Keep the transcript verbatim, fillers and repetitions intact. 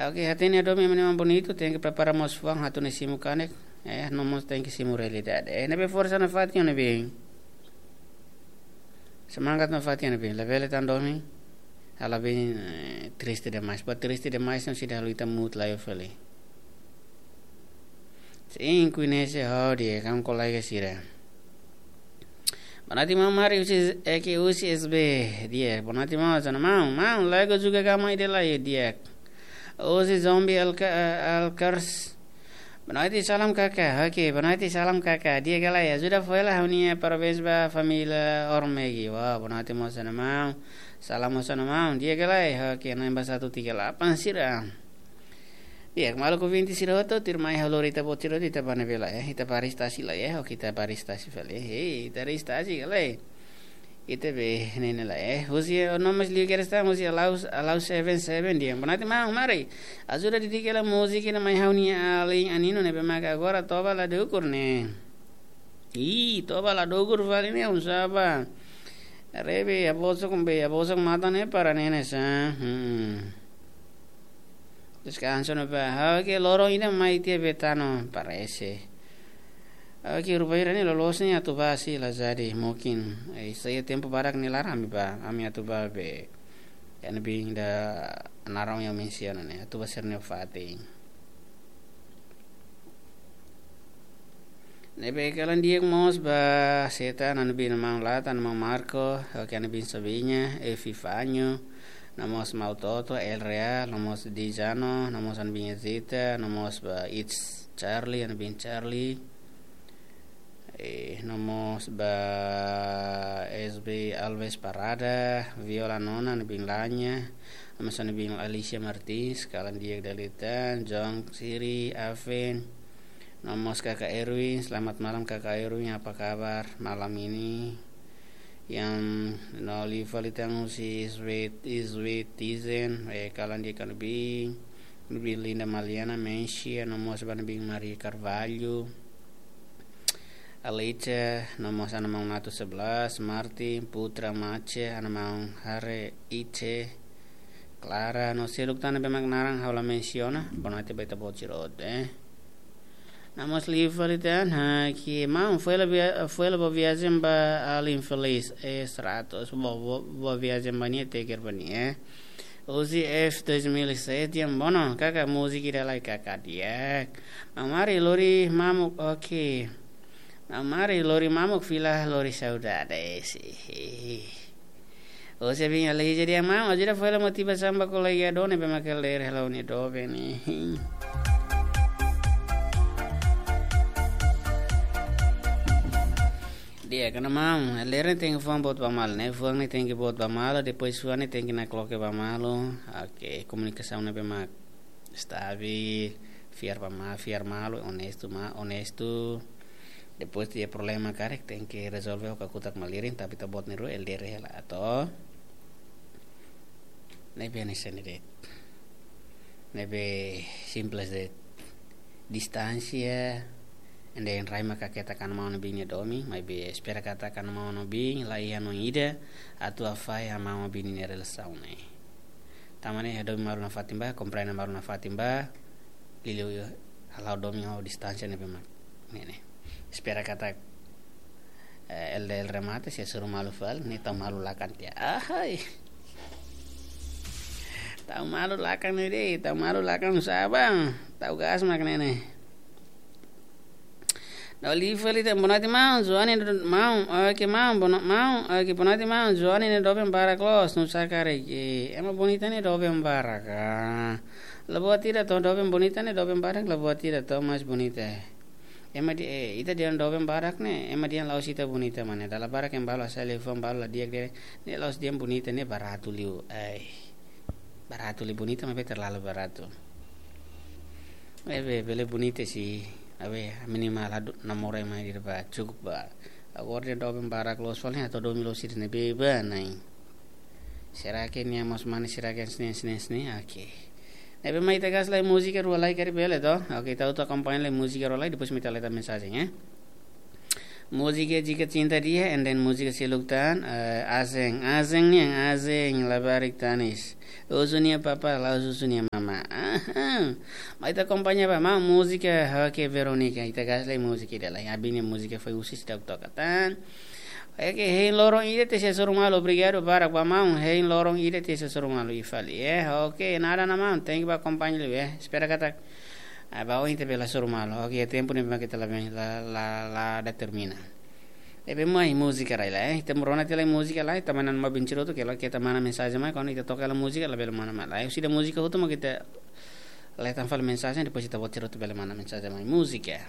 Oke, hatene ida-ne'e mak bonitu, tenke prepara mós fuan atu nune'e simu kanek, eh, no mós tenke simu realidade. Eh, ne'ebé forsa nafatin, ne'ebé semangat nafatin, ne'ebé labele tan domin, halo bem, eh, triste demais. Ba triste demais, no sida halo ita mood la iha fali. Sin, koñese ha'u di'ak, ha'u-nia kolega sira. Boa noite, maun Mari, husi, eh, ke husi S B, di'ak. Boa noite, maun, hanesan ne'e maun, maun, lagu juga gama ida lai, di'ak. Husi Zombie Alka-, eh, Alkers. Boa noite, salam kaka. Oke, boa noite, salam kaka. Di'ak ka lae, ajuda fó hela ha'u-nia parabéns ba família Ormegi. Wah, boa noite, maun, hanesan ne'e maun. Salam, hanesan ne'e maun. Di'ak ka lae, oke, na'in ba satu tiga delapan sira. Di'ak, maluk ouvinte sira hotu, tuirmai ha'u lori ita-boot sira hotu, ita bá ne'ebé lai, eh. Ita bá restaurante lai, eh. Oke, ita bá restaurante fali, eh. Hei, ita restaurante ka lae. Ita bá ne'e lai, eh. Husi, eh, o nome liu kedas tan, husi Alau, Alau seven seven di'ak. Boa noite, maun Mari. Ajuda dedika hela múzika ne'e mai ha'u-nia alin Anino ne'ebé mak agora toba la dukur ne'e. Ih, toba la dukur fali ne'e, un saba. Rebe, a bolsa com B, a bolsa com mata ne'e para ne'e, ne'e sa. Hmm. Deskansa ne'ebá. Ha'u ke loron ida mai tiha bá tanu, parese. Ha'u ke rubaira ne'e loloos ne'e atu bá sei la jadi, mungkin. Eh, sai tempu barak ne'e laran ami bá, ami atu bá be. Iha ne'ebé ida naran yang mensiona ne'e, atu bá sira-ne'e fatin. Ne'ebé kalan di'ak mós ba seta, ha'u-nia maun Lata, ha'u-nia maun Marco, oke, ha'u-nia sobrinha, Evi Fanho, no mós maun Toto, El Real, no mós Dijano, no mós ha'u-nia Zita, no mós ba It's Charlie, ha'u-nia Charlie. Eh, no mós ba S B Alves Parada, Viola Nona, ha'u-nia Lanya, no mós ha'u-nia Alicia Martins, kalan di'ak dala ida tan, John Siri, Aven, no mós Kaka Erwin, selamat malam Kaka Erwin, apa kabar malam ini? Yang no liu fali tan husi Sweet, Sweet Tizen, eh, kalan di'ak ka lae, ne'ebé Linda Maliana, Mensia, no mós ba ne'ebé Maria Carvalho, Alice, no mós ha'u-nia maun Natu sebelas, Martin, Putra Mace, ha'u-nia maun Hare Ice, Clara, no seluk tan ne'ebé mak naran ha'u la mensiona, boa noite ba ita-boot sira hotu, eh. No mós liu fali tan, ha, ke maun, fó hela via-, fó hela boa viajen ba Alin Feliz, eh, seratus, boa, boa, boa viajen ba nia, take care ba nia, eh. Husi F dois mil e sete, yang bono, kaka múzika ida lai kaka di'ak. Maun Mari lori mamuk, oke. Maun Mari lori mamuk fila lori saudade, si. Husi Abin Alija di'ak maun, ajuda fó hela motivasaun ba kolega doben ne'ebé mak ler hela ha'u-nia doben ne'e. Di'ak ka lae maun, ler ne'e tenke fuan boot ba malu, ne'e fuan ne'e tenke boot ba malu, depois fuan ne'e tenke nakloke ba malu. Oke, komunikasaun ne'ebé mak stabil, fiar ba ma-, fiar malu, onestu ma-, onestu. Depois iha problema karik tenke rezolve ho kakutak malirin, tapi ita-boot nia rua L D R hela to. Ne'ebé hanesan ne'e de'it. Ne'ebé simples de'it. Distánsia, ende en rai maka keta kan maun-obin nia domin, maibé espera katak kan maun-obin la iha no ida atu afai maun-obin nia relasaun ne'e. Tanba ne'e iha domin malu nafatin ba, komprende malu nafatin ba, liuliu hala'o domin ho distánsia ne'ebé mak ne'e ne'e. Espera katak, eh, L D R remate, se suru malu fali, ne'e tau malu lakan tiha. Ahai. Tau malu lakan ne'e de'it, tau malu lakan sabar. Tau gas mak ne'e ne'e. No liu fali tan, boa noite maun, Joane do-, maun, oke maun, boa no-, maun, oke, boa noite maun, Joane ne'e doben barak loos, nusá karik, ema bonita ne'e doben barak, ah. La buat ida to, doben bonita ne'e doben barak, la buat ida to, mais bonita. Ema di, eh, ita dehan doben barak ne'e, ema dehan la'ós ita bonita mak ne'e. Dala barak ema balu hasai liafuan balu la di'ak dehan, ne'e la'ós dehan bonita ne'e baratu liu. Ai. Baratu liu bonita, maibé terlalu baratu. Maibé, bele bonita sih. Maibé, minimal atu namora ema ida ba, cukup ba. Agora dehan doben barak loos fali, atu domin loos sira ne'ebé ba, nai. Será que nia mós mane, será que sini, sini, sini? Oke. Ne'ebé mai ita gas lai múzika rua lai karik bele to. Oke, ita atu akompaña lai múzika rua lai, depois mai ita leta mensajen, eh. Múzika Jika Cinta Dia, and then múzika seluk tan, eh, Azeng. Azeng nian, Azeng, labarik tanis. Uzu nia papa, la uzu nia mama. Aha. Mai ita akompaña ba maun múzika, oke, Veronica, ita gas lai múzika ida lai. Abin nia múzika foin husi ita toka tan. Oke, hein loron ida te se suru malu, obrigadu barak ba maun, hein loron ida te se suru malu i fali, eh. Oke, nada na maun, thank you ba akompaña liu, eh. Espera katak, ah, ba ohin te bela suru malu. Oke, tempu ne'ebé mak ita la ben, la, la, la determina. Ne'ebé mai múzika rai lai, eh. Ita mós rona tiha lai múzika lai, ita manán mai vinte minutu, ke la, ke ita manán mensajen mai, kuandu ita toka hela múzika, labele manán mai lai. Husi ida múzika hotu mak ita hetan fali mensajen, depois ita vinte minutu bele manán mensajen mai. Múzika.